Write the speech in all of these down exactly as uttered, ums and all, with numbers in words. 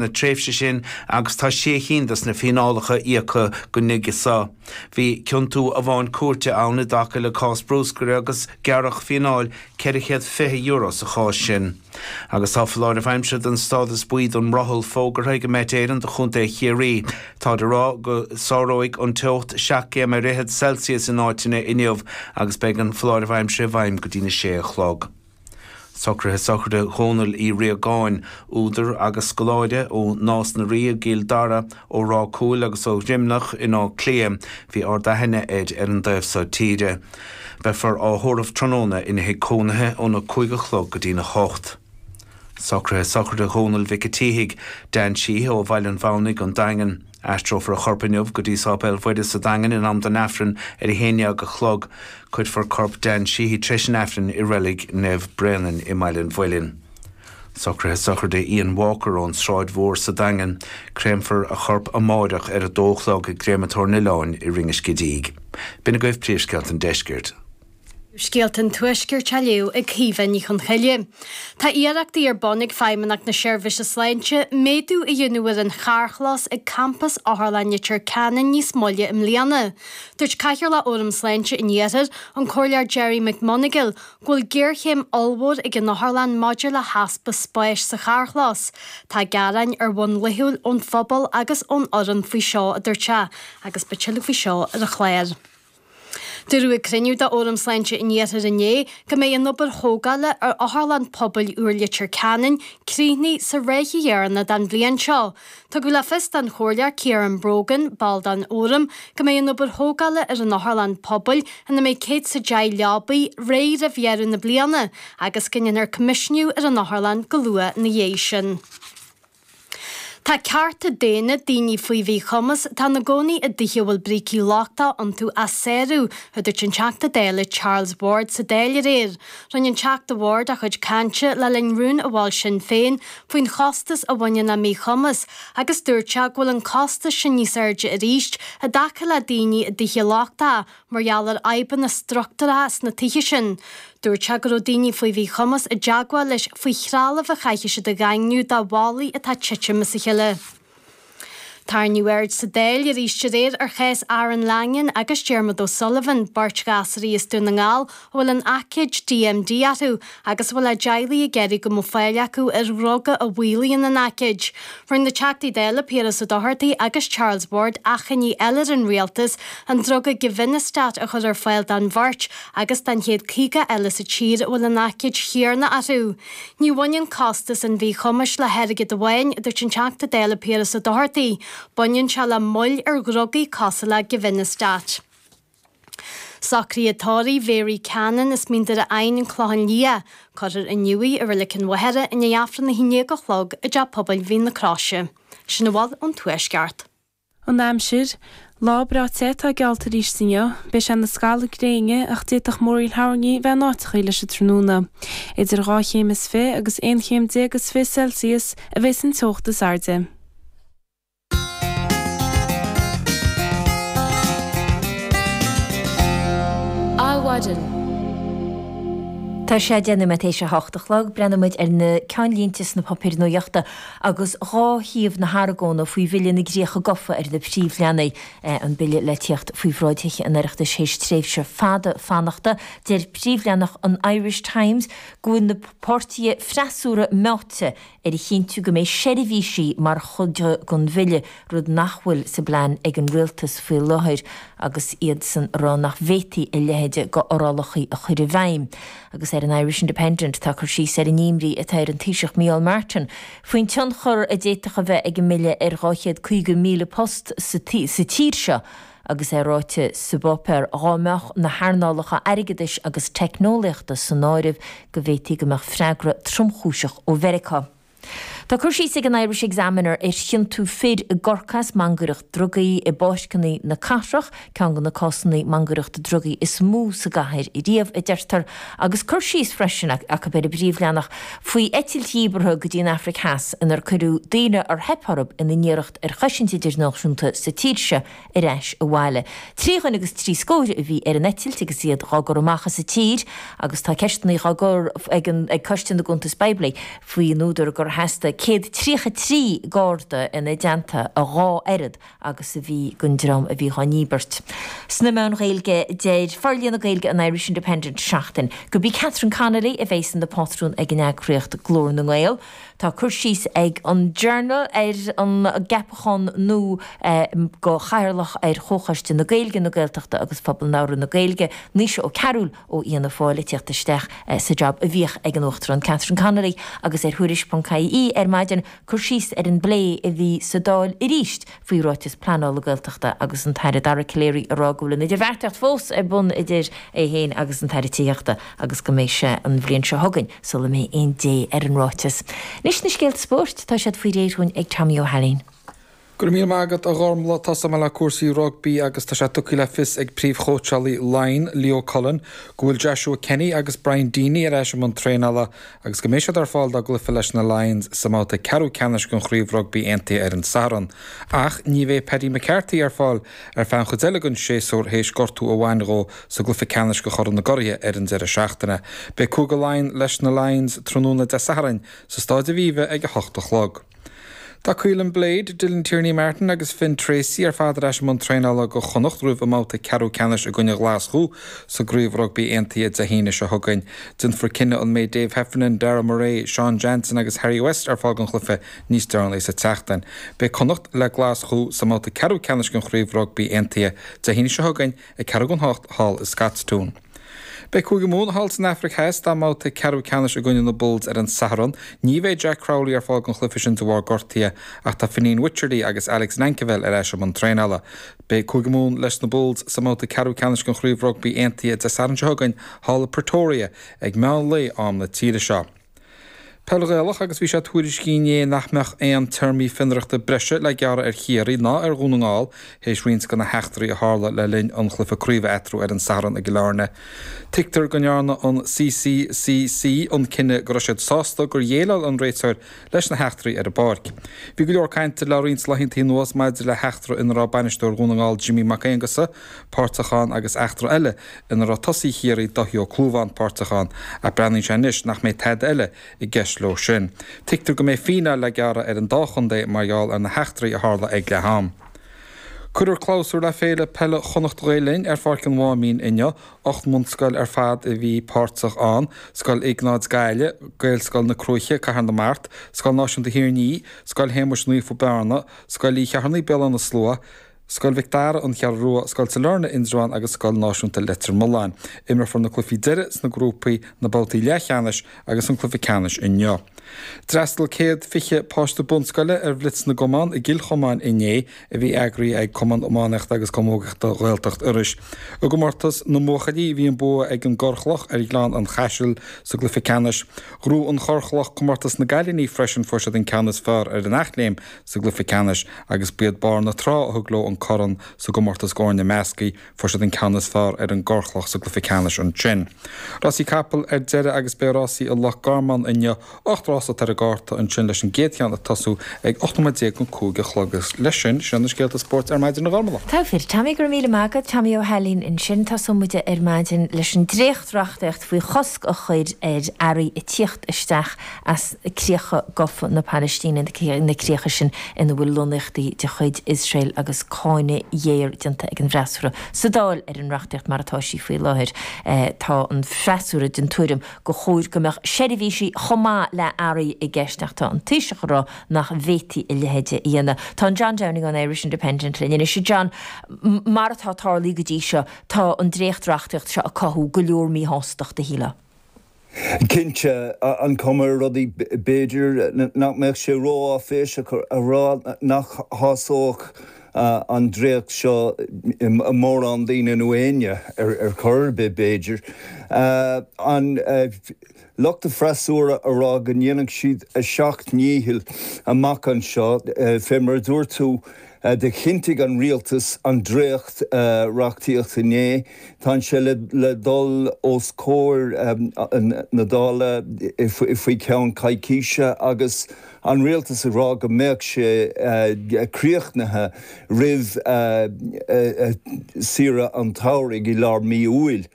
na tréimhse sin agus tá sé cinn de na fíneálacha íoctha go nuige seo. Bhí ciontú amháin cúirte ann i dtaca le cás bruscair agus gearradh fíneáil ceithre chéad fiche euro sa chás sin. Agus tá foláireamh aimsire den stádas buí don mbrothall fógartha ag Met Éireann do Chontae Chiarraí. Táid ag rá go sáróidh an teocht seacht gcéim ar fhichead Celsius in áiteanna inniu agus beidh an foláireamh aimsire i bhfeidhm go dtí na sé a chlog. Socruithe sochraide Dhónaill Uí Riagáin, údar agus scoláire ó Nás na Rí i gCill Dara, ó Ráth Cúil agus ó Dhroimneach in Áth Cliath, bhí ard-aithne air ar an dtaobh seo tíre. Beifear á thórramh tráthnóna ina thigh cónaithe óna cúig a chlog go dtína hocht. Socruithe sochraide Dhónaill Mhic an tSíthigh, Dan Sheehy ó Bhaile an Mhamhnaigh, an Daingean. Aistreofar a chorp inniu go dtí Sáipéal Mhuire sa Daingean in am don Aifreann ar a haon déag a chlog. Cuirfear corp Dan Sheehy tar éis an Aifrinn i reilig Naomh Bréanainn i mBaile an Mhuilinn. Socruithe sochraide Ian Walker ón Sráid Mhór sa Daingean. Créamfar a chorp amárach ar a dó a chlog i gCréamatóir an Oileáin i Rinn an Scidígh. B'in agaibh príomhscéalta an deiscirt. Scéalta an Tuaiscirt á léamh ag Caoimhe Ní Chonchoille. Tá iarrachtaí ar bun ag Feidhmeannacht na Seirbhíse Sláinte méadú a dhéanamh ar an charrchlós ag campas Otharlann Leitir Ceanainn níos moille i mbliana. Dúirt Cathaoirleach Fhóram Sláinte an Iarthair, an Comhairleoir Gerry McMonagle, go bhfuil géarchéim ollmhór ag an otharlann maidir le heaspa spáis sa charrchlós. Tá gearáin ar bhonn laethúil ón phobal agus ón fhoireann faoi seo, a dúirt sé, agus beidh tuilleadh faoi seo ar an chlár. Dúradh ag cruinniú de Fhóram Sláinte an Iarthair inné go mbeidh an obair thógála ar Otharlann Pobail úr Leitir Ceanainn críochnaithe sa ráithe dheireanach den bhliain seo. Tugadh le fios don Chomhairleoir Ciarán Brogan, ball den Fhóram, go mbeidh an obair thógála ar an Otharlann Pobail, ina mbeidh céad is a deich leabaí, réidh roimh dheireadh na bliana agus go ndéanfar coimisiúnú ar an otharlann go luath ina dhiaidh sin. Tá cearta daonna daoine faoi mhíchumas atá ina gcónaí i dtithe a bhfuil brící lochtacha iontu á sárú, a dúirt an Teachta Dála Charles Ward sa Dáil aréir. Rinne an Teachta Ward a chuid cainte le linn rún a mhol Sinn Féin faoin chostas a bhaineann le míchumas agus dúirt sé go bhfuil an costas sin níos airde arís i dtaca le daoine i dtithe lochtacha mar gheall ar fhadhbanna struchtúracha sna tithe sin. Dúirt sé go raibh daoine faoi mhíchumas i dteagmháil leis faoi threalamh a chaithfidh siad a dhaingniú do bhallaí atá ag titim as a chéile. Tarraingíodh aird sa Dáil arís aréir ar chás Aaron Langan agus Diarmuid O'Sullivan, beirt ghasraí as Dún na nGall a bhfuil an aicíd D M D orthu agus a bhfuil a dteaghlaigh ag iarraidh go mbeadh fáil acu ar dhruga a mhaolaíonn an aicíd. Rinne na Teachtaí Dála Piaras Ó Dochartaigh agus Charles Ward achainí eile ar an rialtas an druga Givinostat a chur ar fáil don bheirt agus don chéad caoga eile sa tír a bhfuil an aicíd chéanna orthu. Ní bhaineann costas an mhíchumais le hairgead amháin, a dúirt an Teachta Dála Piaras Ó Dochartaigh. Baineann sé le moill ar dhrugaí cosúil le Givinostat. Socruithe tórraimh Mhary Cannon as Mín Doire Eidhinn an Clochán Liath, cuirfear inniu í i Reilig an Mhachaire i ndiaidh Aifreann a haon déag a chlog i dTeach Pobail Mhín na Croise. Sin a bhfuil ón Tuaisceart. An aimsir, Lá breá te atá geallta arís inniu, beidh sé ina scalladh gréine ach d'fhéadfadh múraíl thoirní bheith in áiteachaí leis an tráthnóna. Idir dhá chéim is fiche agus aon chéim déag is fiche Celsius a bheas an teocht is airde. Adhmhaidin. Tá sé deich nóiméad théis a hocht a chlog. Breathnóidh muid ar na ceannlínte sna páipéir nuachta agus dhá thaobh na hargóna faoi Bhille na gCríocha Gofa ar na príomhleathanaigh. An bille le tíocht faoi bhráid Thithe an Oireachtais théis tréimhse fada fanachta. Deir príomhleathanach an Irish Times go bhfuil na páirtithe freasúra meáite ar a chinntiú go mbeidh seirbhísí mar chuid den bhille, rud nach bhfuil sa bplean ag an rialtas faoi láthair agus iadsan ag rá nach bhféadfaí a leithéid d'fhorálacha a chur i bhfeidhm. Agus ar an Irish Independent tá cur síos ar an imní atá ar an Taoiseach Micheál Martin faoin tionchar a d'fhéadfadh a bheith ag an mbille ar dhá chéad caoga míle post sa tír seo agus é ráite sa bpáipéar dhá mbeadh na hearnálacha airgeadais agus teicneolaíochta san áireamh go bhféadfaí go mbeadh freagra tromchúiseach ó Mheiriceá. Tá cur síos ag an Irish Examiner ar chiontú fir i gCorcaigh as mangaireacht drugaí i bpáirceanna na cathrach, ceann de na cásanna mangaireachta drugaí is mó sa gcathair riamh, a deirtear, agus cur síos freisin acu ar an bpríomhleathanach faoi eitilt dhíbeartha go dtí an Afraic Theas inar cuireadh daoine ar theip orthu ina n-iarracht ar chosaint idirnáisiúnta sa tír seo ar ais abhaile. Trí dhuine agus trí scór a bhí ar an eitilt agus iad dhá gcur amach as an tír agus tá ceisteanna dhá gcur ag Coiste na gCuntas Poiblí faoin údar gur theastaigh céad tríocha trí Garda ina dteannta, a dhá oiread agus a bhí den dream a bhí dhá ndíbirt. Sna meáin Ghaeilge, deir Forlíonadh Gaeilge an Irish Independent Seachtain gurb í Catherine Connolly a bheas ina pátrún ag an eagraíocht Glór na nGael. Tá cur síos ag an Journal ar an gceapachán nua go chathaoirleach ar Chomhchoiste na Gaeilge, na Gaeltachta agus Phobal Labhartha na Gaeilge, Naoise Ó Cearúil ó Fhianna Fáil ag tíocht isteach sa jab a bhíodh ag an Uachtarán Catherine Connolly agus ar Thuairisc ponc ie ar maidin cur síos ar an bplé a bhí sa Dáil arís faoi ráiteas pleanála Gaeltachta agus an tAire Dara Calleary ag rá go bhfuil an idirbheartaíocht fós ar bun idir é féin agus an tAire Tithíochta agus go mbeidh sé an bhliain seo chugainn sula mbeidh aon dé ar an ráiteas. Anois na scéalta spóirt, tá siad faoi réir dhúinn ag Tommy Ó hAilín. Go raibh míle maith agat a Ghormlaith. Tosóidh mé le cúrsaí rugbaí agus tá sé tugtha le fios ag príomhchóitseálaí Laighean, Leo Cullen, go bhfuil Joshua Kenny agus Brian Deeny ar ais i mbun traenála agus go mbeidh siad ar fáil dá gcluiche leis na Lions sa mbabhta ceathrú ceannais den Chraobh Rugbaí Aontaithe ar an Satharn. Ach ní bheidh Paddy McCarthy ar fáil ar feadh an chuid eile den séasúr théis gortú a bhain dhó sa gcluiche ceannais de Chorn na gCuraithe ar an deireadh seachtaine. Beidh Cúige Laighean leis na Lions tráthnóna Dé Sathairn sa Staid Aviva ag a hocht a chlog. Tá Caolin Blade, Dylan Tierney Martin agus Finn Treacy ar fad ar ais i mbun traenála do Chonnacht roimh a mbabhta ceathrú ceannais i gcoinne Ghlaschú sa gCraobh Rugbaí Aontaithe Dé hAoine seo chugainn. Déanfar cinneadh an mbeidh Dave Heffernan, Darragh Murray, Sean Jansen agus Harry West ar fáil don chluiche níos deireanaí sa tseachtain. Beidh Connacht le Glaschú sa mbabhta ceathrú ceannais den Chraobh Rugbaí Aontaithe Dé hAoine seo chugainn ag ceathrú don hocht thall i Scotstoun. Beidh Cúige Mumhan thall san Afraic Theas dá mbabhta ceathrú ceannais i gcoinne na Bulls ar an Satharn. Ní bheidh Jack Crowley ar fáil don chluiche sin de bharr gortaithe ach tá Fineen Wycherley agus Alex Nankivell ar ais i mbun traenála. Beidh Cúige Mumhan leis na Bulls sa mbabhta ceathrú ceannais den Chraobh Rugbaí Aontaithe Dé Sathairn seo chugainn thall i Pretoria ag meán lae am na tíre seo. Peil Ghaelach agus bhí sé tuairiscithe inné nach mbeadh aon téarmaí fionraíochta breise le gearradh ar Chiarraí ná ar Dhún na nGall théis roinnt de na heachtraí a tharla le linn an chluiche craoibhe eatarthu ar an Satharn i gCill Airne. Tuigtear go ndearna an CCCC an cinneadh go raibh siad sásta gur dhéileáil an réiteoir leis na heachtraí ar an bpáirc. Bhí go leor cainte le roinnt laethanta anuas maidir le heachtra ina raibh bainisteoir Dhún na Ngall Jimmy Mac Aonghusa páirteach ann agus eachtra eile ina raibh tosaí Chiarraí Dáithí Ó Clúmháin páirteach ann ach breathnaíonn sé anois nach mbeidh tada eile i gceist leo sin. Tuigtear go mbeidh fíneáil le gearradh ar an dá chontae mar gheall ar na heachtraí a tharla ag leath am. Cuirfear clabhsúr le Féile Peile Chonnacht Ghael Linn ar Pháirc an Mháimín inniu. Ocht mbunscoil ar fad a bhí páirteach ann, Scoil Iognáid Gaillimh, Gaelscoil na Cruaiche, Cathair na Mart, Scoil Náisiúnta Thír an Fhia, Scoil Shéamuis Naofa Bearna, Scoil Uí Cheithearnaigh Béal Átha na Slua, Scoil Mhic Dara, An Cheathrú Rua, Scoil Sailearna, Indreabhán agus Scoil Náisiúnta Leitir Mealláin. Imreofar na cluichí deiridh sna grúpaí, na babhtaí leathcheannais agus an cluiche ceannais inniu. D'fhreastail céad fiche páiste bunscoile ar Bhlitz na gCumann i gCill Chomáin inné, a bhí eagraithe ag Cumann Iománaíochta agus Camógaíochta Ghaeltacht Iorrais. I gcomórtas na mbuachaillí bhí an bua ag an gCorrchloch ar Ghleann an Chaisil sa gcluiche ceannais. Ghnóthaigh an Chorrchloch comórtas na gcailíní freisin, fuair siad an ceann is fearr ar an Eachléim sa gcluiche ceannais agus b'iad Barr na Trá a thug leo an corn sa gcomórtas d'fhoirne measctha. Fuair siad an ceann is fearr ar an gCorrchloch sa gcluiche ceannais ansin. Rásaí capall ar deireadh agus beidh rásaí i Loch Garman inniu. Ocht rás atá ar an gcárta ansin leis an gcéad cheann ag tosú ag ocht nóiméad déag don cúig a chlog. Agus leis sin, sin na scéalta spóirt ar maidin a Ghormlaith. Togha fir. Tommy, go raibh míle maith agat. Tommy Ó hAilín ansin. Tosóidh muid ar maidin leis an dréacht-reachtaíocht faoi chosc a chur ar earraí ag tíocht isteach as críocha gafa na Palaistíne, na críocha sin ina bhfuil lonnaíochtaí de chuid Iosrael agus cáineadh géar déanta ag an bhfreasúra sa Dáil ar an reachtaíocht mar atá sí faoi láthair. Tá an freasúra den tuairim gur chóir go mbeadh seirbhísí chomh maith le earraí i gceist ach tá an Taoiseach ag rá nach bhféadfaí a leithéid a dhéanamh. Tá an John Downing ón Irish Independent linn anois. A John, mar atá tarlaithe go dtí seo, tá an dréacht-reachtaíocht seo ag cothú go leor míshástachta, shílfeá. Cinnte, an chuma ar rudaí, b'fhéidir nach mbeadh sé ró-áiféiseach a rá nach shásódh an dréacht seo mórán daoine nó éinne ar chor ar bith, b'fhéidir. An lucht an fhreasúra a rá go ndéanfaidh siad a seacht ndícheall amach anseo, fé mar a dúirt tú, Do chinntigh an rialtas an dréacht reachtaíocht inné. Tá sé le dul os comhair na Dála faoi cheann coicíse agus an rialtas ag rá go mbeadh sé críochnaithe roimh saoire an tsamhraidh i lár mí Iúil.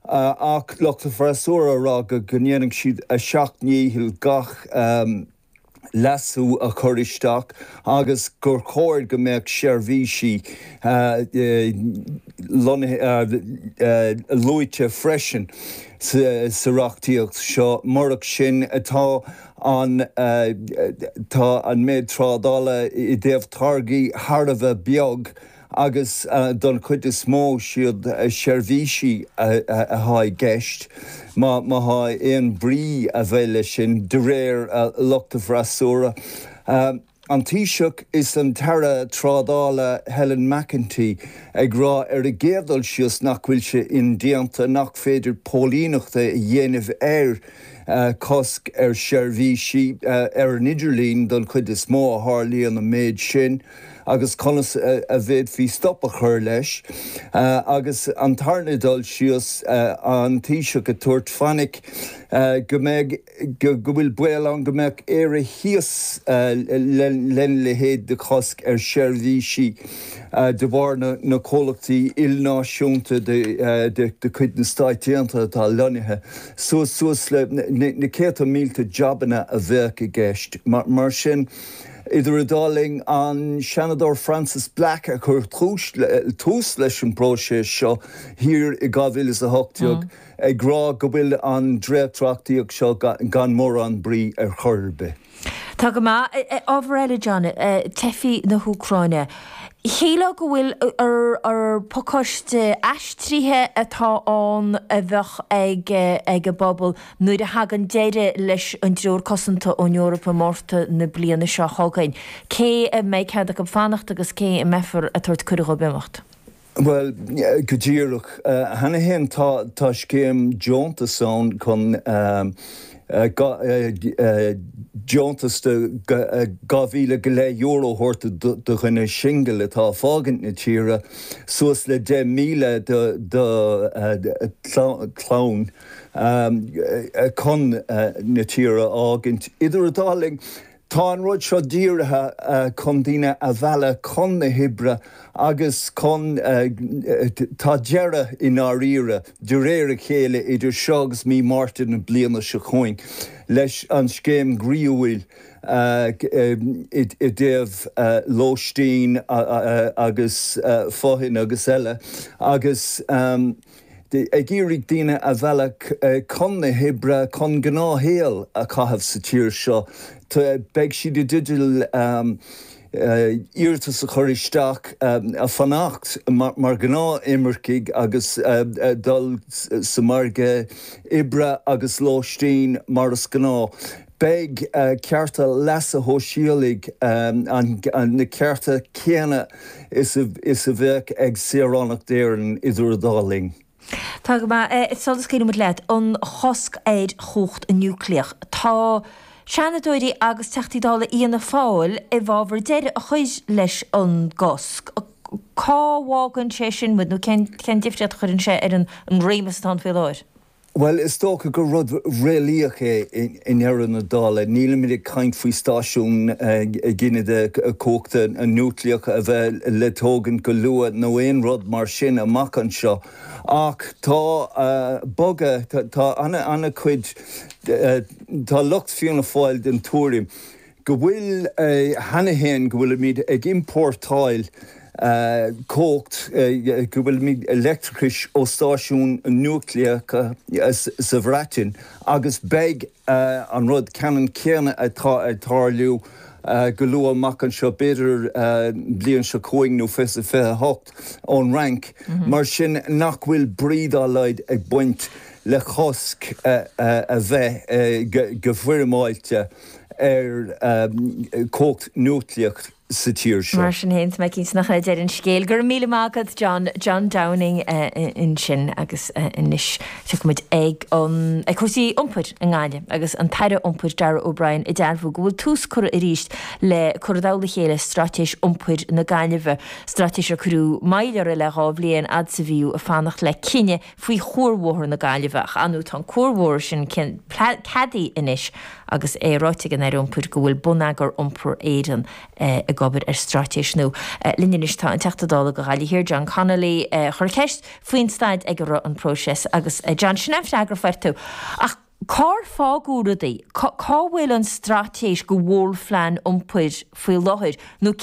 Ach lucht an fhreasúra ag rá go ndéanfaidh siad a seacht ndícheall gach leasú a chur isteach agus gur chóir go mbeadh seirbhísí luaite freisin sa reachtaíocht seo. Murach sin, tá an tá an méid trádála i dtaobh táirgí thar a bheith beag agus don chuid is mó siad seirbhísí atá i gceist, má tá aon bhrí a bheith leis sin de réir lucht an fhreasúra. An Taoiseach is an tAire Trádála Helen McEntee ag rá ar an gcéad dul síos nach bhfuil sé indéanta, nach féidir póilíneacht a dhéanamh ar cosc ar sheirbhísí ar an idirlíon don chuid is mó a tharlaíonn an méid sin agus conas a bhféadfaí stop a chur leis. Agus an tarna dul síos, an Taoiseach ag tabhairt fainic go mbeidh, go bhfuil baol ann go mbeadh Éire thíos lena leithéid de chosc ar sheirbhísí de bharr na comhlachtaí ilnáisiúnta de chuid na Stáit Aontaithe atá lonnaithe suas suas le na céadta mílte jabanna a bheadh i gceist. Mar sin, idir an dá linn, an Seanadóir Frances Black a chuir tús leis an bpróiseas seo thiar i dhá mhíle is a hocht déag ag rá go bhfuil an dréachtreachtaíocht seo gan mórán brí ar chor ar bith. Tá go maith. Ábhar eile, John, teifigh na hÚcráine. Shílfeá go bhfuil ar pacáiste aistrithe atá ann a bheadh ag ag an bpobal nuair a thagann deireadh leis an dTreoir Cosanta ón Eoraip i Márta na bliana seo chugainn. Cé a mbeidh cead acu fanacht agus cé a mbeifear ag tabhairt cuireadh dhóibh imeacht? Bhuel, go díreach. Cheana féin tá scéim deontas ann chun deontas de dhá mhíle go leith euro a thabhairt do dhuine singil atá ag fágaint na tíre, suas le deich míle do chlann chun na tíre a fhágaint. Idir an dá linn, Tá an rud seo dírithe chun daoine a mhealladh chun na hoibre agus chun, tá deireadh i ndáiríre, de réir a chéile idir seo agus mí Márta na bliana seo chugainn, leis an scéim ghroíúil i dtaobh lóistín agus fothain agus eile agus. ag iarraidh daoine a mhealladh chun na hoibre, chun gnáthshaol a chaitheamh sa tír seo. Beidh siad i dteideal iarratas a chur isteach a fanacht mar ghnáth-imircigh agus dul sa margadh oibre agus lóistín mar is gnáth. Beidh cearta leasa shóisialaigh, na cearta céanna is a bheadh ag saoránach d'Éirinn idir an dá linn. Tá go maith. Sula scaoileann muid leat, an chosc ar chumhacht núicléach. Tá Seanadóirí agus Teachtaí Dála Fhianna Fáil i bhfabhar deireadh a chur leis an gcosc. Cá bhfágann sé sin muid nó cén difríocht a chuireann sé ar an réimeas atá ann faoi láthair? Bhuel, is dócha gur rud réalaíoch é i ndeireadh na dála. Nílimid ag caint faoi stáisiún giniúna cumhachta núicléach a bheith le tógaint go luath nó aon rud mar sin amach anseo. Ach tá bogadh, tá an-chuid, tá lucht Fianna Fáil den tuairim go bhfuil, cheana féin, go bhfuilimid ag iompórtáil cumhacht, go bhfuilimid leictreachais ó stáisiúin núicléacha sa Bhreatain agus beidh an rud ceannann céanna atá ag tarlú go luath amach anseo, b'fhéidir bliain seo chugainn nó fiche fiche a hocht, ón Fhrainc. Mar sin nach bhfuil brí dá laghad ag baint le cosc a bheith go foirmeáilte ar chumhacht núicléach sa tír seo. Mar sin féin, tá mé cinnte nach é deireadh an scéil. Go raibh míle maith agat, John, John Downing ansin agus anois tiocfaidh muid ag an, ag cúrsaí iompair i nGaillimh agus an tAire Iompair Darragh O'Brien ag dearbhú go bhfuil tús curtha arís le cur i dtoll a chéile Straitéis Iompair na Gaillimhe, straitéis ar cuireadh moill uirthi le dhá bhliain fhad is a bhíodh ag fanacht le cinneadh faoi chuarbhóthar na Gaillimhe ach ar ndóigh tá an cuarbhóthar sin ceadaithe anois agus é ráite ag an Aire Iompair go bhfuil Bonneagar Iompair Éireann ag obair ar straitéis nua. Linn anois tá an Teachta Dála do Ghaillimh Thiar, John Connolly, a chuir ceist faoin staid ag a raibh an próiseas agus John, sin an freagra a fuair tú. Ach Cár fágadh rudaí? Cá bhfuil an straitéis go mhórphlean iompair faoi láthair nó